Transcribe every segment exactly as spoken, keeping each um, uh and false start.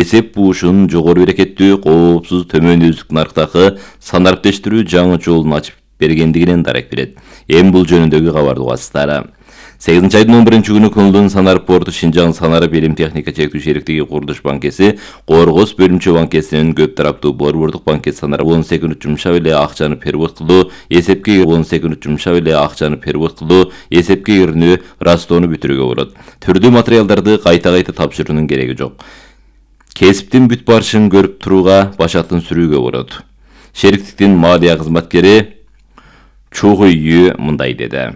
Эсеп буушун жогору берекеттүү, коопсуз, төмөн үздүк нарктагы санариптештирүү жаңы жолун ачып бергендигинен дарек берет. Эми бул жөнүндөгү кабарды угасыздар. сегизинчи айдын он биринчи күнү Кымылдын Санарип порту Шинжаң Санарип Илим техника чектүү шериктиги Курулуш банкеси Коргос бөлүмчө банкесинин көп тараптуу борбордук банкет Санарип он секунд жумшап эле акчаны перевод кылуу, эсепке он секунд жумшап эле акчаны перевод кылуу, эсепке кирүүнү растоону бүтүрүүгө болот. Түрдүү материалдарды кайта-кайта тапшыруунун кереги жок. Кесиптин бүт барышын көрүп турууга башатын сүрүүгө болот. Шериктиктин малия кызматкери Чугуйю мындай деди.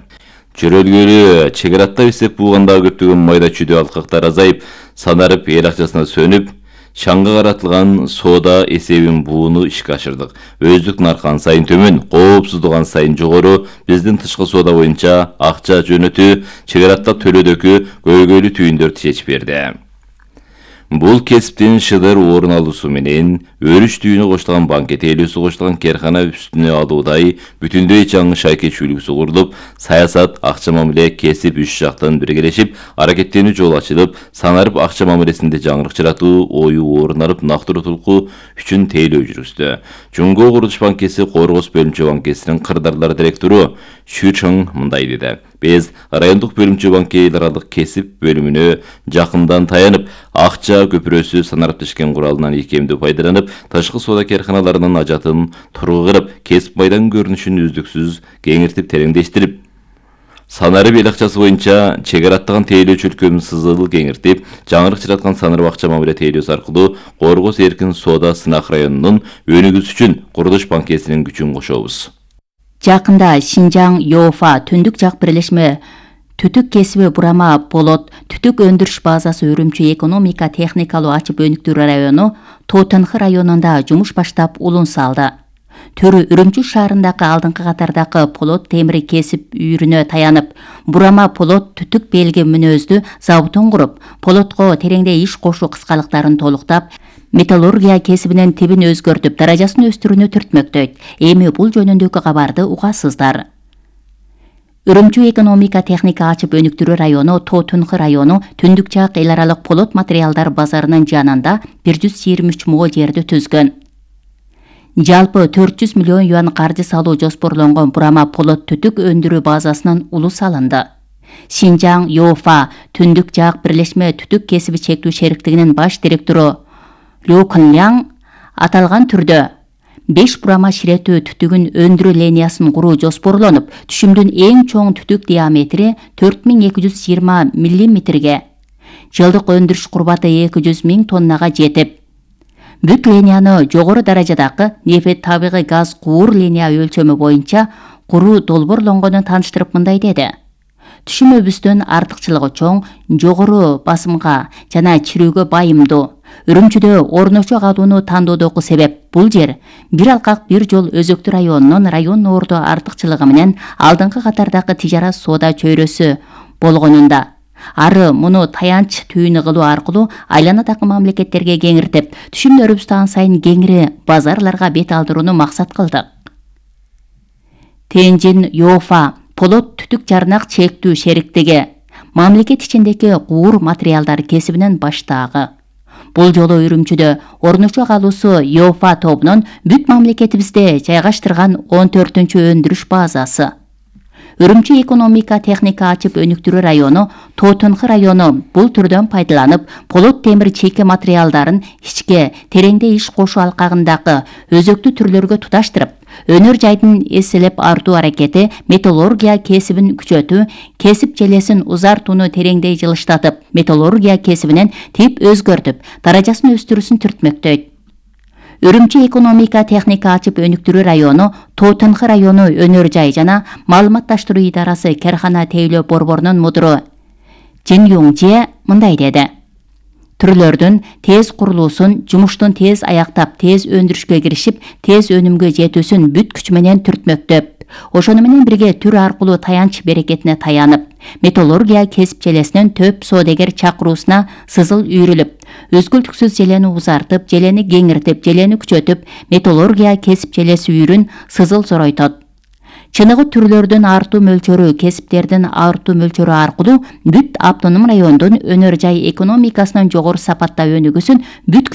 Чөрөлгөлү чек аратта эсеп буугандагы көптөгөн майда чүйдө алкактар азайып, Санарип эл акчасына сөнүп, шаңга каратылган соода эсебин бууну ишке ашырдык. Өздүк наркы ан сайын төмөн, коопсуздук ан сайын жогору. Биздин тышкы соода боюнча акча жөнөтүү, чек араттап төлөөдөгү көйгөйлүү түйүндөрдү чечип берди. Бул кесиптин шыдыр орун алуусу менен өрүш түйүнү коштолгон банкет элүүсү коштолгон керкана үстүнө алуудай бүтүндөй жаңы шайке чүйлүгүсү курулуп, саясат, акча мамиле, кесип үч жактан биргелешип, аракеттенүү жол ачылып, Санарип акча мамилесинде жаңырык жаратуу ою орун алып, нактыруу тулку үчүн тейлөө жүргүздү. Жумго Курулуш банкеси Коргос бөлүмчө банкесинин кырдаарлар директору Шүчөң мындай деди. Биз райондук бөлүмчө банки эл аралык кесип бөлүмүнө жакындан таянып, акча көпүрөсү санариптешкен куралынан икемдүү пайдаланып, тышкы соода керканаларынын ажатын тургузуп, кесип майданын көрүнүшүн үздүксүз кеңиртип тереңдештирип, Санарип эл акчасы боюнча чек араттаган тейлөө чөлкөмүн сызыл кеңиртип, жаңырык жараткан Санарип акча мамиле тейлөөсү аркылуу Коргос эркин соода сынак районунун өнүгүүсү үчүн Курулуш банкесинин күчүн кошобуз. Жакында Шинжаң Йофа түндүк жак бирлешме түтүк кесиби бурама болот түтүк өндүрүш базасы Үрүмчү экономика техникалуу ачып өнүктүрүү району Тоотонхы районунда жумуш баштап улун салды. Төрү Үрүмчү шаарындагы алдыңкы катардагы полот темири кесип үйрүнө таянып, бурама полот түтүк белги мүнөздүү заводун куруп, полотко тереңде иш кошуу кыскалыктарын толуктап, металлургия кесибинин тибин өзгөртүп, даражасын өстүрүүнү түртмөктөйт. Эми бул жөнүндөгү кабарды угасыздар. Үрүмчү экономика техника ачып өнүктүрүү району Тоотонхы району түндүк жак эл аралык полот материалдар базарынын жанында бир жүз жыйырма үч мо жерди түзгөн. Жалпы төрт жүз миллион юан каржы салуу жоспорлонгон бурама полот түтүк өндүрүү базасынын улу салынды. Шинжаң Йофа түндүк жак бирлешме түтүк кесиби чектүү шериктигинин баш директору Лю Кынляң аталган түрдө беш бурама ширетүү түтүгүн өндүрүү линиясын куруу жоспорлонуп, түшүмдүн эң чоң түтүк диаметри төрт миң эки жүз жыйырма миллиметрге, жылдык өндүрүш курбаты эки жүз миң тоннага жетип, бүт линияны жогору даражадагы нефть табигый газ куур линия өлчөмү боюнча куруу долбоорлонгонун тааныштырып мындай деди. Түшүмөбүздүн артыкчылыгы чоң, жогору басымга жана чирүүгө байымдуу. Үрүмчүдө орночо калууну тандоодогу себеп бул жер бир алкак бир жол өзөктүү районунун район ордо артыкчылыгы менен алдыңкы катардагы тижарат соода чөйрөсү болгонунда. Ары муну таянч түйүнү кылуу аркылуу айланадагы мамлекеттерге кеңиртип, түшүмдөрүбүздү ан сайын кеңири базарларга бет алдырууну максат кылдык. Тенжин Йофа полот түтүк жарнак чектүү шериктиги мамлекет ичиндеги куур материалдар кесибинин баштаагы. Бул жолу Үрүмчүдө орночо калуусу Йофа тобунун бүт мамлекетибизде жайгаштырган он төртүнчү өндүрүш базасы. Үрүмчү экономика техника ачып өнүктүрүү району Тоотонхы району бул түрдөн пайдаланып, полот темир чейке материалдарын ичке тереңде иш кошуу алкагындагы өзөктүү түрлөргө туташтырып, өнөр жайдын эселеп артуу аракети, металлургия кесибин күчөтүү, кесип желесин узартууну тереңдей жылыштатып, металлургия кесибинен тип өзгөртүп, даражасын өстүрүүсүн түртмөктөйт. Үрүмчү экономика техника ачып өнүктүрүү району Тоотонхы району өнөр жай жана маалыматташтыруу идарасы керкана тейлөө борборунун мудуру Жин Юңже мындай деди. Түрлөрдүн тез курулуусун, жумуштун тез аяктап, тез өндүрүшкө киришип, тез өнүмгө жетүүсүн бүт күч менен түртмөктөп, ошону менен бирге түр аркылуу таянч берекетине таянып, металлургия кесип желесинин төп соодагер чакыруусуна сызыл үйрүлүп, өзгөлтүксүз желени узартып, желени кеңиртип, желени күчөтүп, металлургия кесип желеси үйрүн сызыл зоройтот. чыныгы түрлөрдүн артуу мөлчөрү, кесиптердин артуу мөлчөрү аркылуу бүт автоном райондун өнөр жай экономикасынын жогору сапатта өнүгүүсүн бүткүч